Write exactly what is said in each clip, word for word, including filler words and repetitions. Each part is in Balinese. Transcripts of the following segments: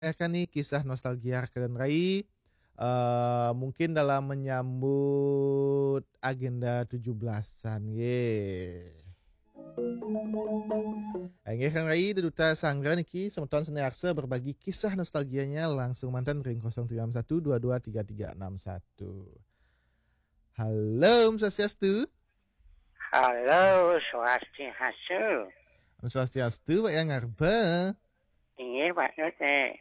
Kan ni kisah nostalgia rekan rai, eh, mungkin dalam menyambut agenda tujuh belasan, ye. Inggih, rekan rai, di duta sanggra niki, semeton seni arsa berbagi kisah nostalgianya langsung mantan ring kosong tiga enam satu dua dua tiga tiga enam satu. Halo, Om Swastiastu. Halo, Swastiastu. Om Swastiastu, Pak Yang Ngarba. Inggih, Pak Nut, eh.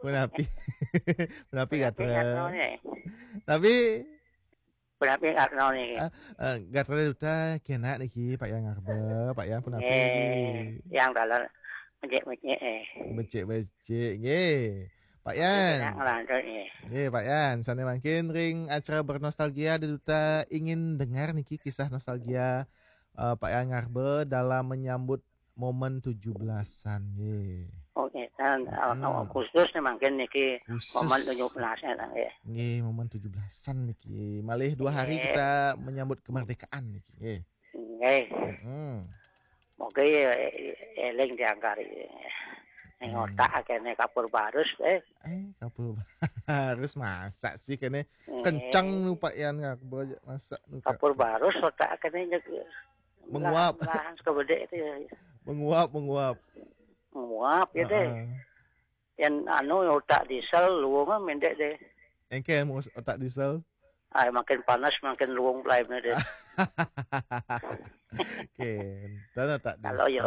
Punapi? Punapi gatra? Tapi punapi gatra niki? Ah, eh, gatra duta kena niki, Pak Yang Ngarba, Pak Yang punapi? Nggih, Yang dalan becik-becik, eh. Becik-becik, nggih. Pak Yan. Kena ngelantur, nggih. Nggih, Pak Yan, sane mangkin ring acara bernostalgia di duta ingin dengar niki kisah nostalgia, eh, Pak Yan Ngarba dalam menyambut momen tujuh belasan, nggih. Oke, dan, eh, khusus nih mangkin niki momen tujuh belasan, nggih. Nggih, momen tujuh belasan niki. Malih dua hari kita menyambut kemerdekaan niki, nggih. Nggih. Moga ya, eling diangkari. Ning otak kene kapur barus, eh. Eh, kapur barus, masa sih kene kenceng nu, Pak Yan, ngapa aja masa nu, Kak? Kapur barus otak kene nyek-, menguap. Lahan, lahan sekebedek itu ya. Menguap, menguap. Menguap ya deh. Heeh. Yang anu, otak diesel, luwung mendek deh. Engke mau otak diesel? Ay, makin panas, makin luwung pelaimnya deh. Kenten otak diesel. Kalau ya,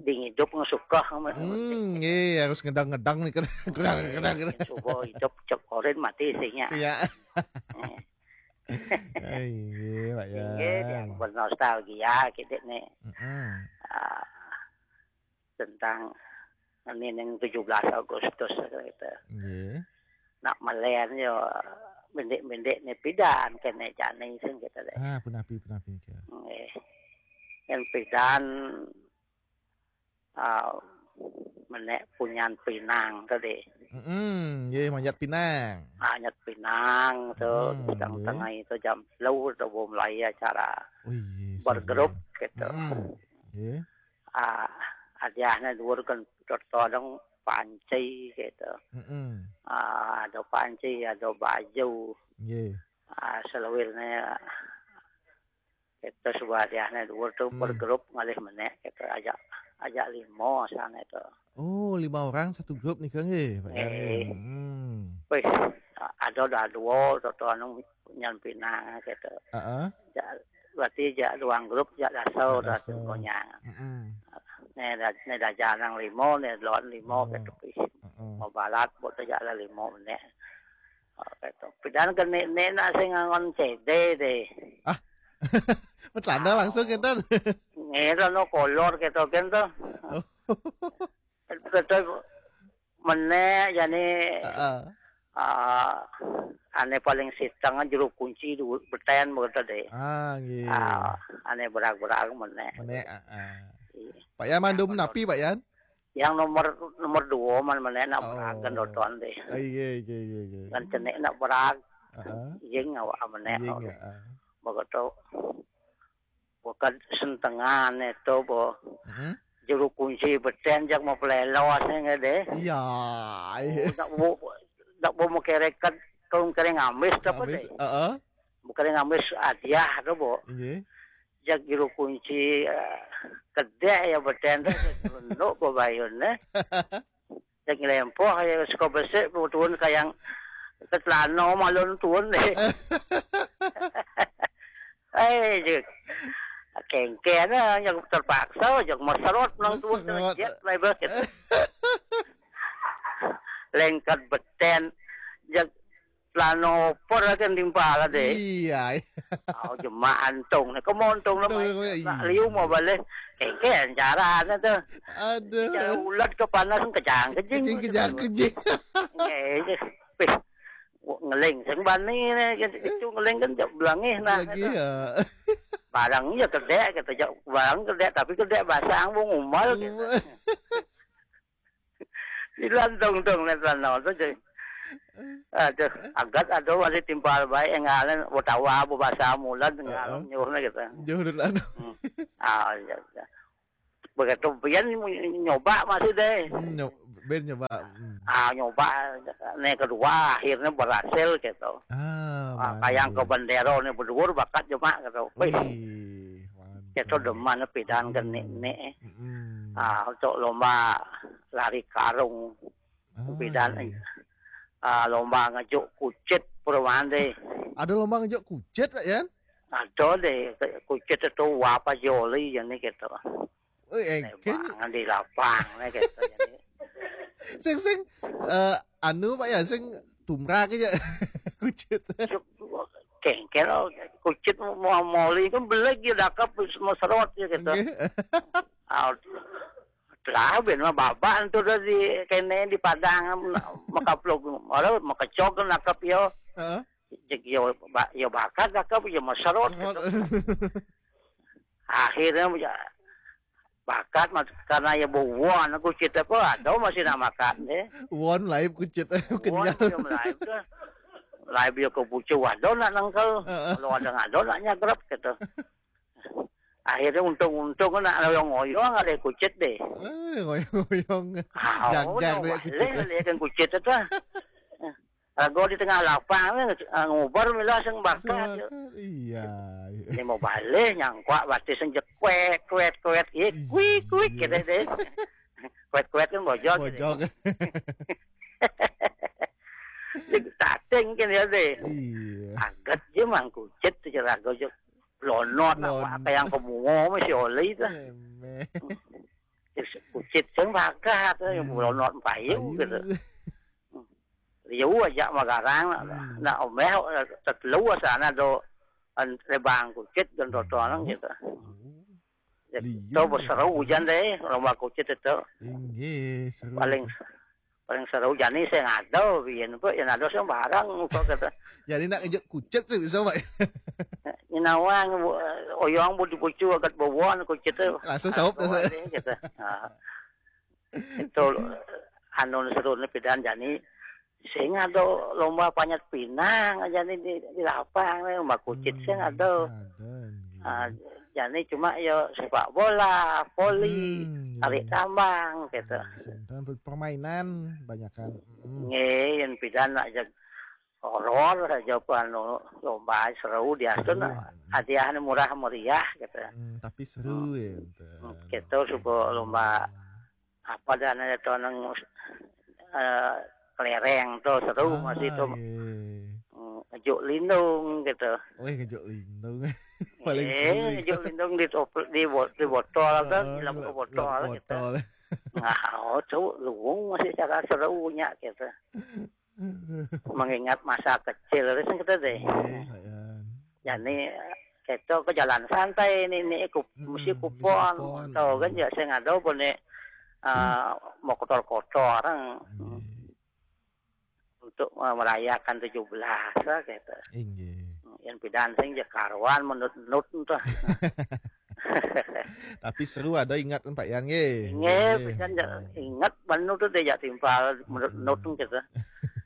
ding hidup ngesukah. Hmm, nggih, harus ngedang-ngedang nih, kedang, kedang, kedang, kedang. Coba hidup, cek oren mati isinya. Iya. Eh. Ay, nggih, Pak Yan. Nggih, yang bernostalgia gitu nih. Mm-mm. Ah, tentang ini ning tujuh belas Agustus gitu. Nggih. Nak melen yo, mendik-mendik ni pidan kene jani sing gitu deh. Ah, punapi, punapi ke? Nggih. Yang pidan, ah, menek punyan pinang tadi. Mm-mm, nggih, manjat pinang. Manjat pinang tu, mm, sedang nggih. Tengah itu jam sepuluh tu baru mulai acara. Oh, iya, bergrup gitu. Mm-mm, nggih. Ah, hadiahnya dhuwur kan, todong panci gitu. Mm-mm. Ah, ada panci, ada baju. Nggih. Ah, selawirnya itu sebuah hadiahnya dhuwur tu, hmm, bergrup ngalih menek gitu. Ajak, ajak lima sana itu. Oh, lima orang satu grup nih, Kang, nggih, Pak Yan, nggih. Hmm. Wis, ada dah dua, atau anu nyampinang gitu. Heeh. Ja-, berarti jak ruang grup, jak dasar, jak dasar. Dah semuanya. Mm-mm. Ni dah, ni dah janang lima, ni lawan lima, oh, gitu. Heeh. Mau balat, buat tu jak dah lima menek. Oh, gitu. Pidan ke ni, ni nak sing ngangon C D deh. Ah. Betlanda langsung, oh, kenten. Ngira no kolor gitu kan tu. Oh. Betul menek jani, heeh, ah, ane paling siteng jero kunci du-, beten begitu deh. Ah, nggih. Ah, ane berag-berag menek. Menek, heeh. Iya. Pak Yan mandum napi, Pak Yan? Yang nomor, nomor dua man menek nak, oh, berag kan doton deh. Ah, iya, iya, iya, iya. Kan cenik nak berag. Heeh. Jing awak menek. Jing, heeh. Begitu. Bukan sentengan itu, bo. Hmm? Jero kunci beten jak mau pelelos ni deh. Iya, iya. Oh, dak bo, dak bo mau kereket, tong kering amis apa deh? Heeh. Bukan amis hadiah tu, bo. Iya. Jak jero kunci, eh, kedek ya beten tu, tunduk bo bayun ni. Sing lempoh ya, saka besik turun kayang ke celana malun turun deh. Eh, je. Kengken, eh, yang terpaksa, yang meserot nang turun, meserot. Jet, lah, ibarat gitu. Lengket beten, yang celana oper kan timpal deh. Iya. Oh, jemak antung ni. Kamu antung nama? Antung nama, iya. Nak liu mau balik. Kengken caranya tu. Aduh. Cara ulat ke panas, kejang-kejing. Kejang-kejing. Nggih, wis. Ngeling sing bani ni, kan, itu ngeling kan jak belangih nah, lagi gitu. Ya. Barang ya kedek, gitu, jak barang kedek, tapi kedek basang, wong umal, gitu. Umal. Dilantung-tung ni celana tu, cuy. Aduh, agat aduh masih timpal baik, enggalan, betawa, bebasa mulan, enggalan, heeh, nyuruh ni, gitu. Jauh dulu, aduh. Hmm. Ah, iya, iya. Begitu pian nyoba masih deh. Hmm, nyo-, Ben nyoba. Hmm. Ah, nyoba, né kedua akhirnya berhasil gitu. Ah, ah, kayang ke bendera né berduur bakat cuma gitu. Wih, mantap. Gitu demen pidan ke né. Ah, untuk lomba lari karung. Ah, pidan, iya. Ah, lomba ngejuk kucit perumahan deh. Ada lomba ngejuk kucit, Pak Yan? Ada deh, kucit itu apa joli ya nih gitu. Oh, engkén. Di lapang nih gitu. Sing, sing, eh, anu, Pak Yan, sing tumrap aja. Kucit. Kengkel, kucit mau moli kan beleg ya dakep mau serot ya gitu. Nggih. Ah, lah ben mah babak itu udah di kene di Padang makaplok, ora makecok nakep yo. Heeh. Cek yo ba-, yo bakat dakep yo mau serot gitu. Akhirnya ya, bakat mas, karena ya bawaan aku cerita apa ada masih nak makan deh. Won live kucit. Won kenyal. Dia live tuh. Live dia ke pucuk ada nak nengkel. Heeh. Kalau ada ngado nak nyagrep gitu. Akhirnya untung-untung nak ngoyong-ngoyong ada kucit deh. Eh, ngoyong-ngoyong. Ah, jang-jang deh kucit. Lihat kan kucit itu. Lagu di tengah lapang nih, ah, ngubar mila sing bakat. Iya. Ini mau balik nyangkua batis sing jekwet kwet kwet, iya, kuik kuik gitu deh. Kwet kwet kan bojol gitu. Bojol. Tating kan ya deh. Iya. Aget je mangkucit tuh lagu je. Lonot apa yang kemuo masih oli tuh. Kucit sing bakat tuh, yang lonot payu gitu. Liu aja magarang, hmm, nak omeh tetelu sana do lebang kucit dan totonan gitu. Liu. Itu berseru hujan deh, lomba kucit itu. Inggih, seru. Paling, paling seru jani sing ada, biyen kok yang ada sembarang kok kata. Jadi nak ngejek kucit sih bisa, Pak. Inawang oyong bu dipucu agak bawaan kucit itu. Langsung saup dah, gitu. Nah. Itu anu seru ni pidan jani sing ada lomba panjat pinang aja nih di, di lapang nih, lomba kucit sing ada. Ah, jadi cuma ya sepak bola, voli, hmm, tarik tambang gitu. Dan permainan banyak kan. Nggih, yang pidan aja horor aja apa anu lomba seru dia tuh nah, hadiahnya murah meriah gitu. Hmm, tapi seru ya. Gitu suka lomba apa dan ada tonang eh, kelereng tuh seru masih tuh. Hmm, ngejuk lindung gitu. Wih, ngejuk lindung. Paling eh, seru ngejuk lindung di topel, di, bo- di botol kan, di lampu botol gitu. Nah, oh, tuh luwung masih cara serunya gitu. Mengingat masa kecil itu kita deh. Jadi kita ke jalan santai ini, ini mesti kupon, tahu kan ya, saya nggak tahu pun nih eh, mau kotor-kotor orang untuk eh, merayakan tujuh belas lah gitu. Inggih. Yang pidan sing je karuan menut-nut tuh. Tapi seru ada ingat Pak Yan nggih. Nggih, pisan ingat bener tuh deh ya timpal menut-nut gitu.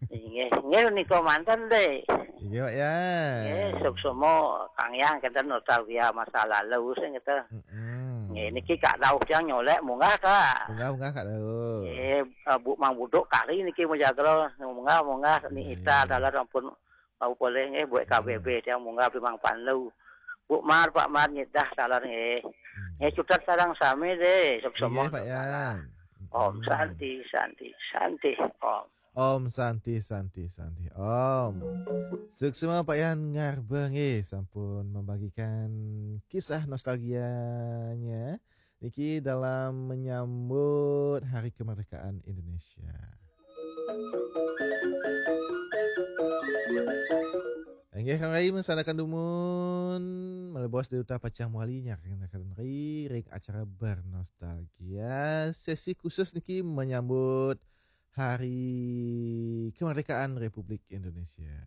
Inggih, inggih nika manten deh. Iya, Pak Yan. Nggih, suksma Kang Yang kita nostalgia masa lalu sing gitu. Heeh. Nggih, niki Kak Dauh yang nyolek munggah, Kak. Munggah, munggah, Kak Dauh. Nggih, eh, Bu Mang Buduk kali niki mujagra munggah, munggah ni ita dalar ampun bau poleh nggih buat K B B tiang munggah beli Mang Panlu. Bu Mar, Pak Mar nyedah dalar nggih. Nggih cutet sareng sami deh, suksma. Iya, Pak Yan. Om Santi, Santi, Santi, Om. Om Santi, Santi, Santi, Om. Suksma Pak Yan Ngarba nggih sampun membagikan kisah nostalgianya niki dalam menyambut Hari Kemerdekaan Indonesia. Inggih Kang Rai, mensanakan dumun, malebos Duta Pacang Muali nyarengkeun ri ring acara Bernostalgia, sesi khusus niki menyambut Hari Kemerdekaan Republik Indonesia.